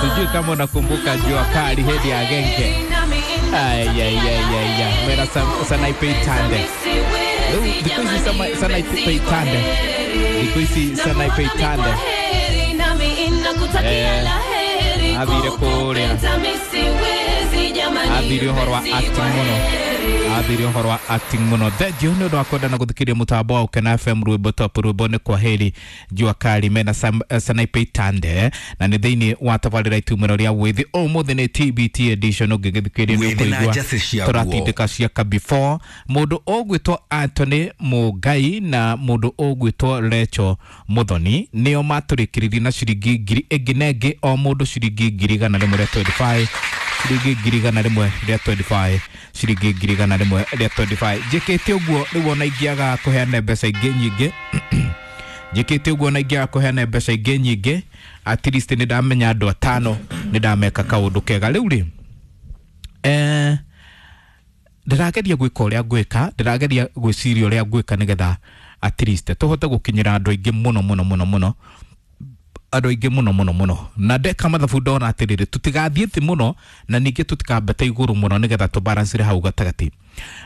Sijui kama unakumbuka Jua Kali hedi ya genge. Ay ay ay ay ay. Mera Sanaipei Tande. Thikũ ici Sanaipei Tande. Thikũ ici Sanaipei Tande. Athire kũrĩa. Athire ũhoro wa acting mũno. Athire ũhoro wa acting mũno. Thengiũ nĩ ũndũ wa kwenda na gũthikĩrĩria mũtambo wa Ũkena FM rwĩmbo top rwĩmbo nĩ kwa heri Jua Kali mena Sanaipei Tande na nĩ thĩinĩ wa tabarĩra itumĩro rĩa wĩthĩ ũmũthĩ nĩ TBT edition ũngĩgĩthikĩrĩria nĩ ũkũigua tũratindĩka ciaka before mũndũ ũgwĩtwo Anthony Mũngai na mũndũ ũgwĩtwo Recho Muthoni nĩo matũrĩkĩrĩrie na ciringi ngiri ĩngĩ na ĩngĩ o mũndũ ciringi 125 ciringi 125 ciringi 125 njĩkĩte ũguo rĩu ona ingĩaga kũheana mbeca ingĩ nyingĩ njĩkĩte ũguo ona ingĩaga kũheana mbeca ingĩ nyingĩ at least nĩ ndamenya andũ atano nĩ ndameka kaũndũ kega rĩu rĩ ndĩrageria gwĩka ũrĩa ngwĩka ndĩrageria gwĩciria ũrĩa ngwĩka nĩgetha at least tũhote gũkinyĩra andũ aingĩ mũno mũno mũno mũno andũ aingĩ mũno mũno mũno na ndeka mathabu ndona atĩrĩrĩ tũtigathiĩ thĩ mũno na ningĩ tũtikambate igũrũ mũno nĩgetha tũbalancire hau gatagatĩ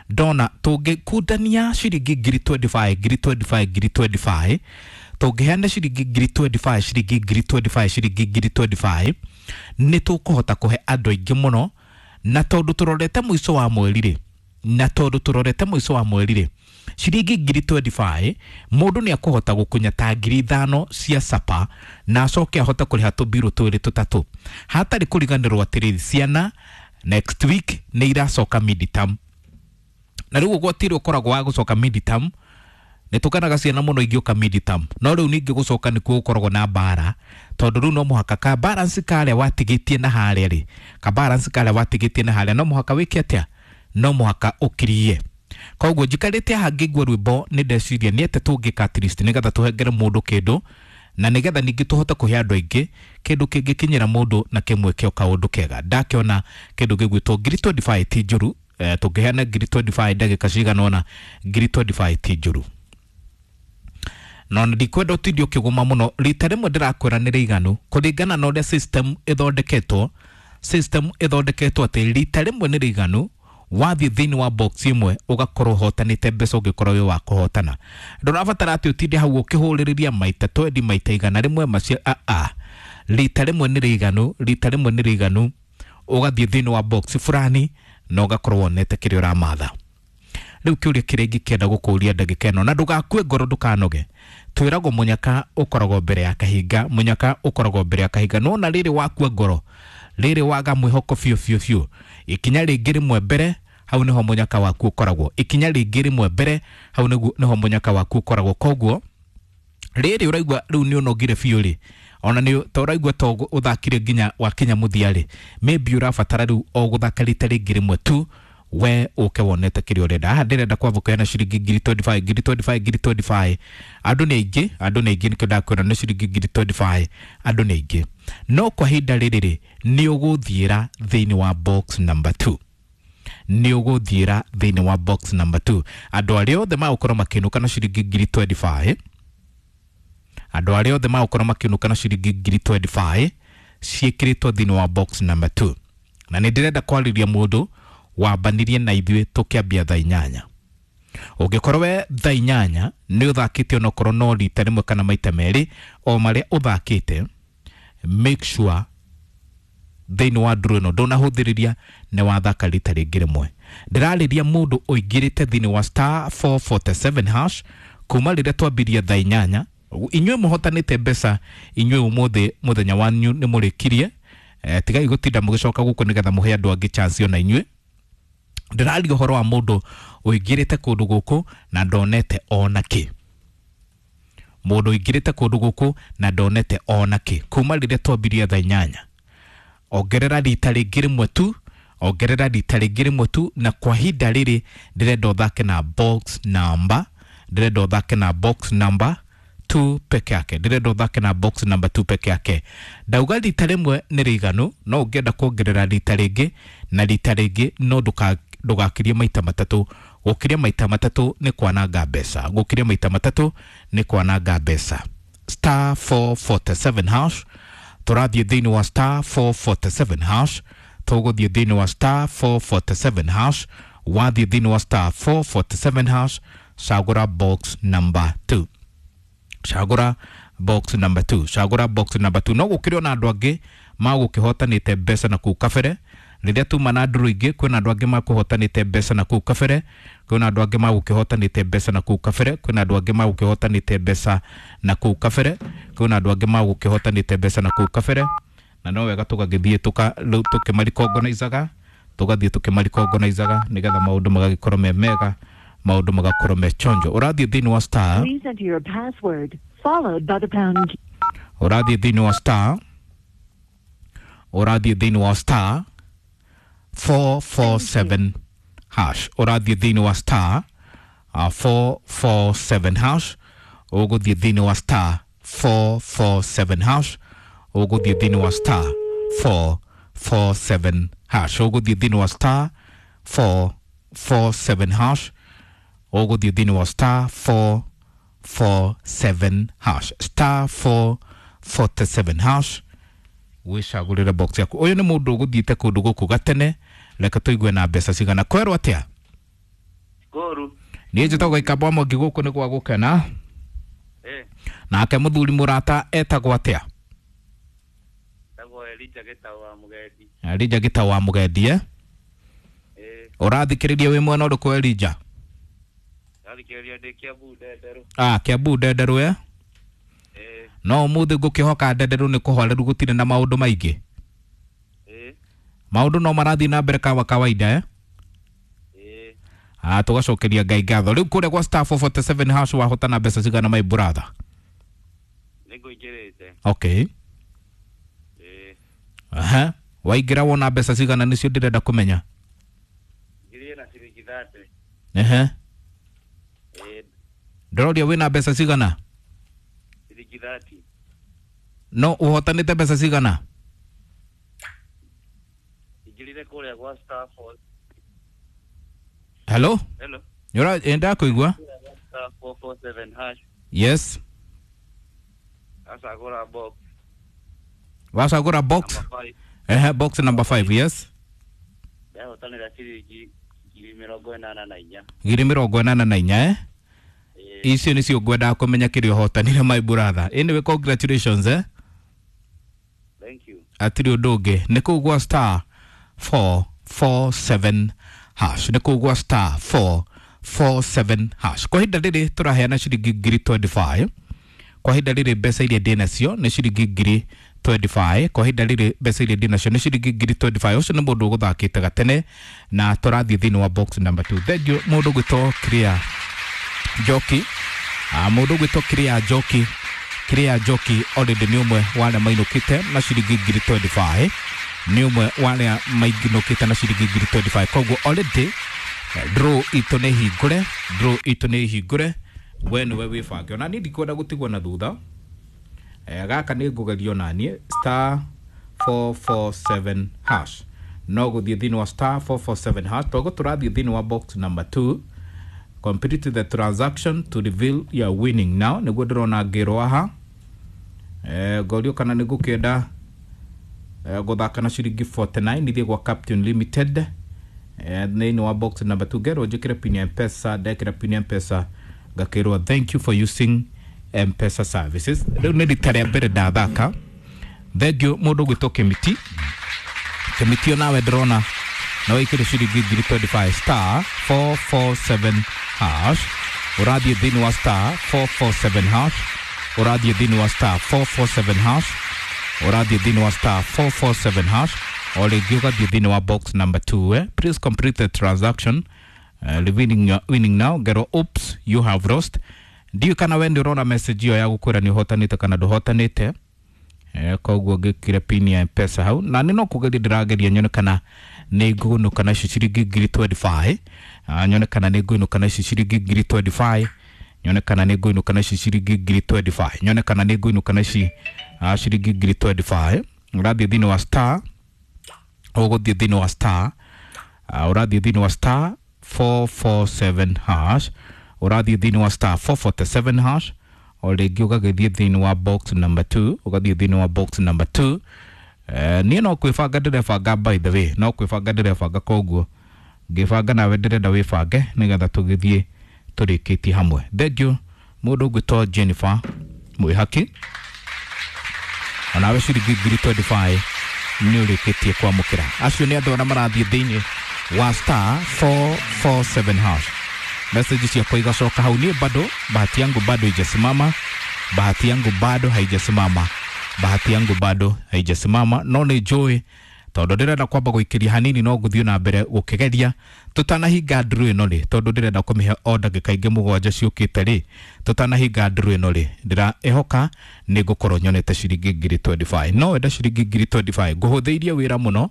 ndona tũngĩkundania ciringi 25 25 25 tũngĩheana ciringi 25 ciringi 25 ciringi 25 nĩ tũkũhota kũhe andũ aingĩ mũno na tondũ tũrorete mũico wa mweri rĩ na tondũ tũrorete mũico wa mweri rĩ ciringi 25 mũndũ nĩ akũhota gũkunya ta 5,000 cia sapa na acoke ahote kũrĩha tũbirũ twĩrĩ tũtatũ hatarĩ kũriganĩrwo atĩrĩrĩ ciana next week nĩ iracoka midterm na rĩu ũgwati ũrĩa ũkoragwo wa gũcoka midterm nĩ tũkenaga ciana mũno ingĩũka midterm no rĩu ningĩ gũcoka nĩkuo gũkoragwo na mbara tondũ rĩu no mũhaka ka balance karĩa watigĩtie na harĩa rĩ ka balance karĩa watigĩtie na harĩa no mũhaka wĩke atĩa no mũhaka ũkirie koguo njikarĩte haha ngĩigua rwĩmbo nĩ ndeciria nĩ atĩa tũngĩka at least nĩgetha tũhengere mũndũ kĩndũ na nĩgetha ningĩ tũhote kũhe andũ aingĩ kĩndũ kĩngĩkinyĩra mũndũ na kĩmwĩke o kaũndũ kega ndakĩona kĩndũ gĩgwĩtwo 25 ti njũru tũngĩheana 25 ndagĩka cigana ũna 25 ti njũru no ndikwenda ũtinde ũkĩgũma mũno rita rĩmwe ndĩrakwĩra nĩ rĩiganu kũringana na ũrĩa system ĩthondeketwo system ĩthondeketwo atĩ rita rĩmwe nĩ rĩiganu wathiĩ thĩinĩ wa box ĩmwe ũgakorwo ũhotanĩte mbeca ũngĩkorwo wĩ wa kũhotana ndũrabatara atĩ ũtinde hau ũkĩhũrĩrĩria maita twendi maita 100 macio aa rita rĩmwe nĩ rĩiganu rita rĩmwe nĩ rĩiganu ũgathiĩ thĩinĩ wa box fulani na ũgakorwo wonete kĩrĩa ũramatha rĩu kĩũria kĩrĩa ingĩkĩenda gũkũria ndagĩka ĩno na ndũgakue ngoro ndũkanoge twĩragwo mũnyaka ũkoragwo mbere ya kahinga mũnyaka ũkoragwo mbere ya kahinga nona rĩrĩ wakua ngoro rĩrĩ waga mwĩhoko biũ biũ biũ ikinya rĩngĩ rĩmwe mbere hau nĩho mũnyaka waku ũkoragwo ikinya rĩngĩ rĩmwe mbere hau nĩho mũnyaka waku ũkoragwo koguo rĩrĩ ũraigua rĩu nĩ ũnogire biũ rĩ ona nĩ ta ũraigua ta ũthakire nginya wakinya mũthia rĩ maybe ũrabatara rĩu o gũthaka rita rĩngĩ rĩmwe tu we ũke wonete kĩrĩa ũrenda haha ndĩrenda kwamũkĩra ciringi 25 25 25 andũ nĩ aingĩ andũ nĩ aingĩ nĩkĩo ndakwĩra nĩ ciringi 25 andũ nĩ aingĩ no kwa ihinda rĩrĩ rĩ nĩ ũgũthiĩra thĩinĩ wa box number 2 nĩ ũgũthiĩra thĩinĩ wa box number 2 andũ arĩa othe magũkorwo makĩinũka na ciringi 25 andũ arĩa othe magũkorwo makĩinũka na ciringi 25 ciĩkĩrĩtwo thĩinĩ wa box number 2 na nĩ ndĩrenda kwarĩria mũndũ wambanirie na ithuĩ tũkĩambia thaa inyanya ũngĩkorwo we thaa inyanya nĩ ũthakĩte onokorwo no rita rĩmwe kana maita merĩ o marĩa ũthakĩte make sure thĩinĩ wa ndũrũ ĩno ndũnahũthĩrĩria nĩ wathaka rita rĩngĩ rĩmwe ndĩrarĩria mũndũ ũingĩrĩte thĩinĩ wa star 447 hash kuma rĩrĩa twambirie thaa inyanya inyuĩ mũhotanĩte mbeca inyuĩ ũmũthĩ mũthenya wanyu nĩ mũrĩkirie tigai gũtinda mũgĩcoka gũkũ nĩgetha mũhe andũ angĩ chance ona inyuĩ ndĩraria ũhoro wa mũndũ ũingĩrĩte kũndũ gũkũ na ndonete ona kĩ mũndũ ũingĩrĩte kũndũ gũkũ na ndonete ona kĩ kuma rĩrĩa twambirie thaa inyanya ongerera rita rĩngĩ rĩmwe tu ongerera rita rĩngĩ rĩmwe tu na kwa ihinda rĩrĩ ndĩrenda ũthake na box number ndĩrenda ũthake na box number 2 peke yake ndĩrenda ũthake na box number 2 peke yake ndauga rita rĩmwe nĩ rĩiganu no ũngĩenda kuongerera rita rĩngĩ na rita rĩngĩ no ndũgakirie maita matatũ gũkiria maita matatũ nĩ kwananga mbeca gũkiria maita matatũ nĩ kwananga mbeca star 447 hash Tũrathiĩ thĩinĩ wa star 447 hash. Tũgũthiĩ thĩinĩ wa star 447 hash. Wathiĩ thĩinĩ wa star 447 hash, cagũra box number 2. Cagũra box number 2. Cagũra box number 2. No gũkĩrĩ ona andũ angĩ magũkĩhotanĩte mbeca na kũu kabere. Rĩrĩa tuma na ndũrũ ingĩ, kwĩna andũ angĩ makũhotanĩte mbeca na kũu kabere, kwĩna andũ angĩ magũkĩhotanĩte mbeca na kũu kabere, kwĩna andũ angĩ magũkĩhotanĩte mbeca na kũu kabere, kwĩna andũ angĩ magũkĩhotanĩte mbeca na kũu kabere. Na no wega tũgagĩthiĩ tũkĩmarikongonizaga, tũgathiĩ tũkĩmarikongonizaga nĩgetha maũndũ magagĩkorwo me mega, maũndũ magakorwo me chonjo. Ũrathiĩ thĩinĩ wa star, Please enter your password, followed by the pound key. Ũrathiĩ thĩinĩ wa star, ũrathiĩ thĩinĩ wa star 447 hash. Ũrathiĩ thĩinĩ wa star 447 hash. Ũgũthiĩ thĩinĩ wa star 447 hash. Ũgũthiĩ thĩinĩ wa star 447 hash. Ũgũthiĩ thĩinĩ wa star 447 hash. Ũgũthiĩ thĩinĩ wa star 447 hash. Star 447 hash. Wĩcagũrĩre box yaku. Ũyũ nĩ mũndũ ũgũthiĩte kũndũ gũkũ gatene. Reke tũigue na mbeca cigana. Kwerwo atĩa? Koru. Niĩ njĩtagwo Gĩkamba wa Mwangi, gũkũ nĩ gwa gũkena. Nake mũthuri mũrata etagwo atĩa? Tagwo Elija Gĩtaũ wa Mũgendi. Elija Gĩtaũ wa Mũgendi, eh? Ũrathikĩrĩria wĩ mwena ũrĩkũ, Elija? Ndathikĩrĩria ndĩ Kiambu Ndenderũ. Ah, Kiambu Ndenderũ, eh? No ũmũthĩ ngũkĩhoka Ndenderũ nĩ kũhoreru, gũtirĩ na maũndũ maingĩ. Maũndũ no marathiĩ na mbere kawa kawaida, eh? Ah, tũgacokeria Ngai ngatho. Rĩu kũrĩa gwa star 447 hash wahotana mbeca cigana, my brother? Nĩngũingĩrĩte. Okay. Aha. Waingĩra wona mbeca cigana? Nĩcio ndĩrenda kũmenya. Ngirie na ciringi 30. Ehe. Ndĩroria wĩna mbeca cigana? Ciringi 30. No ũhotanĩte mbeca cigana? Ingĩrire kũrĩa gwa star 4. Hello? Hello. Nyora enda kũigua? Star 447 hash. Yes. Acagũra box. Wacagũra box? Number 5. Ehe, box number 5, yes. Ndahotanĩra ciringi 84. 84, eh? Icio nĩcio ngwendaga kũmenya kĩrĩa ũhotanire, my brother. Anyway, congratulations, eh? Thank you. Atirĩ ũndũ ũngĩ. Nĩ kũu gwa star 447 hash. Nĩ kũu gwa star 447 hash. Kwa ihinda rĩrĩ tũraheana ciringi 25,000. Kwa ihinda rĩrĩ mbeca iria ndĩ nacio nĩ ciringi 25,000. Kwa ihinda rĩrĩ mbeca iria ndĩ nacio nĩ ciringi 25,000. Ũcio nĩ mũndũ ũgũthakĩte gatene na tũrathiĩ thĩinĩ wa box number 2. Thank you mũndũ ũgwĩtwo Clear Njoki. Mũndũ ũgwĩtwo Clear Njoki. Clear Njoki already nĩ ũmwe wa arĩa mainũkĩte na ciringi 25,000. Nĩ ũmwe wa arĩa mainũkĩte na ciringi 25,000. Koguo already draw itũ nĩ hingũre, draw itũ nĩ hingũre. We nĩwe wĩbange. Ona niĩ ndikwenda gũtigwo na thutha. Gaka nĩ ngũgerio naniĩ star 447 hash. No gũthiĩ thĩinĩ wa star 447 hash. Toguo tũrathiĩ thĩinĩ wa box number 2. Complete the transaction to reveal your winning now. Nĩguo ndĩrona ngĩrwo haha. Ngorio kana nĩ ngũkĩenda gũthaka na ciringi 49 nithiĩ gwa Captain Limited. Thĩinĩ wa box number 2 ngerwo njĩkĩre pin ya M-Pesa. Ndekĩra pin ya M-Pesa ngakĩrwo thank you for using M-Pesa services. Rĩu nĩ rita rĩa mbere ndathaka. Thank you mũndũ ũgwĩtwo Kĩmiti. Kĩmiti onawe ndĩrona na wĩkĩre ciringi 25,000 star 447 hash. Ũrathiĩ thĩinĩ wa star 447 hash. Ũrathiĩ thĩinĩ wa star 447 hash. Ũrathiĩ thĩinĩ wa star 447 hash. O rĩngĩ ũgathiĩ thĩinĩ wa box number 2, eh? Please complete the transaction. Revealing your winning now. Ngero oops, you have lost. Ndiũĩ kana we nĩ ũrona message ĩyo ya gũkwĩra nĩ ũhotanĩte kana ndũhotanĩte. Koguo ngĩkĩre pin ya M-Pesa hau na nĩ no kũgeria ndĩrageria nyone kana nĩ ngũinũka na icio ciringi 25,000. Nyone kana nĩ ngũinũka na icio ciringi 25,000. Nyone kana nĩ ngũinũka na ici ciringi 25,000. Nyone kana nĩ ngũinũka na ici ciringi 25,000. Ũrathiĩ thĩinĩ wa star, ũgũthiĩ thĩinĩ wa star, ũrathiĩ thĩinĩ wa star 447 hash. Ũrathiĩ thĩinĩ wa star 447 hash. O rĩngĩ ũgagĩthiĩ thĩinĩ wa box number 2, ũgathiĩ thĩinĩ wa box number 2. Niĩ no kwĩbanga ndĩrebanga, by the way, no kwĩbanga ndĩrebanga, koguo ngĩbanga nawe ndĩrenda wĩbange nĩgetha tũgĩthiĩ tũrĩkĩtie hamwe. Thank you. Mũndũ ũgwĩtwo Jennifer Mwĩhaki, onawe ciringi 25,000 nĩ ũrĩkĩtie kwamũkĩra. Acio nĩ andũ arĩa marathiĩ thĩinĩ wa star 447 hash. Message ciakwa igacoka hau. Niĩ bado bahati yangu bado haijasimama, bahati yangu bado haijasimama, bahati yangu bado haijasimama, no nĩ njũĩ tondũ ndĩrenda kwamba gũikĩria hanini, no ngũthiĩ na mbere gũkĩgeria tũtanahinga nduru ĩno rĩ, tondũ ndĩrenda kũmĩhe o ndagĩka ingĩ 7 ciũkĩte rĩ. Tũtanahinga nduru ĩno rĩ, ndĩraĩhoka nĩ ngũkorwo nyonete ciringi 25,000. No wenda ciringi 25,000, ngũhũthĩirie wĩra mũno.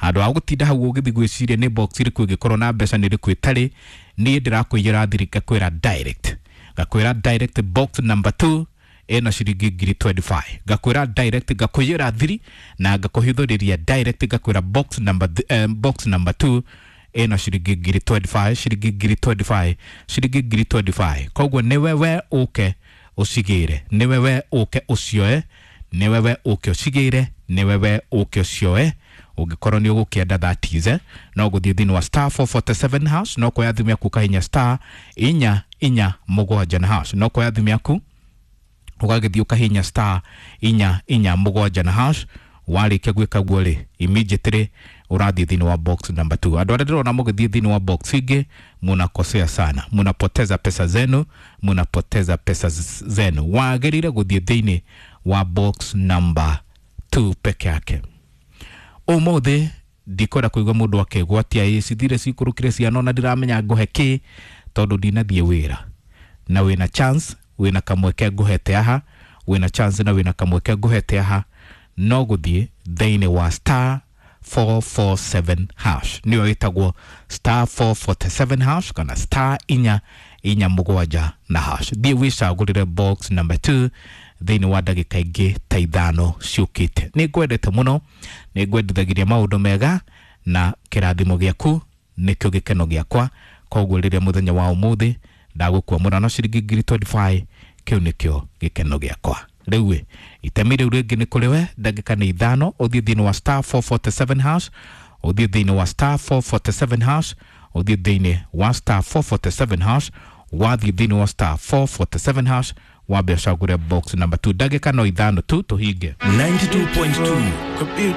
Handũ ha gũtinda hau ũgĩthiĩ gwĩciria nĩ box ĩrĩkũ ĩngĩkorwo na mbeca, nĩ ĩrĩkũ ĩtarĩ, niĩ ndĩrakũiyĩra thiri, ngakwĩra direct, ngakwĩra direct box number 2 ĩna ciringi 25,000. Ngakwĩra direct, ngakũiyĩra thiri na ngakũhithũrĩria direct, ngakwĩra box number 2 ĩna ciringi 25,000, ciringi 25,000, ciringi 25,000. Koguo nĩwe we ũke ũcigĩre, nĩwe we ũke ũcioe, nĩwe we ũke ũcigĩre, nĩwe we ũke ũcioe. Ũngĩkorwo nĩ ũgũkĩenda, that is, no gũthiĩ thĩinĩ wa star 447 hash, no kuoya thimũ yaku ũkahinya star 447 na hash. No kuoya thimũ yaku ũgagĩthiĩ ũkahinya star 447 na hash. Warĩkia gwĩka guo rĩ, immediately ũrathiĩ thĩinĩ wa box number 2. Andũ arĩa ndĩrona mũgĩthiĩ thĩinĩ wa box ingĩ, munakosea sana, munapoteza pesa zenu, munapoteza pesa zenu. Wagĩrĩire gũthiĩ thĩinĩ wa box number 2 peke yake. Ũmũthĩ ndikwenda kũigua mũndũ akĩgwatia ĩ cithire cikũrũkire ciana, ona ndiramenya ngũhe kĩ tondũ ndinathiĩ wĩra. Na wĩna chance, wĩna kamweke ngũhete haha, wĩna chance na wĩna kamweke ngũhete haha, no gũthiĩ thĩinĩ wa star 447 hash, nĩyo ĩtagwo star 447 hash kana star 447 na hash. Thiĩ wĩcagũrĩre box number 2 thĩinĩ wa ndagĩka ingĩ ta 5 ciũkĩte. Nĩ ngwendete mũno, nĩ ngwendithagĩria maũndũ mega, na kĩrathimo gĩaku nĩkĩo gĩkeno gĩakwa. Koguo rĩrĩa mũthenya wa ũmũthĩ ndagũkwamũra na ciringi 25,000, kĩu nĩkĩo gĩkeno gĩakwa. Rĩu ĩ itemi rĩu rĩngĩ nĩ kũrĩ we. Ndagĩka nĩ 5, ũthiĩ thĩinĩ wa star 447 hash, ũthiĩ thĩinĩ wa star 447 hash, ũthiĩ thĩinĩ wa star 447 hash. Wathiĩ thĩinĩ wa star 447 hash, wambe ũcagũre box number 2. Ndagĩka no 5 tu tũhinge. 92.2.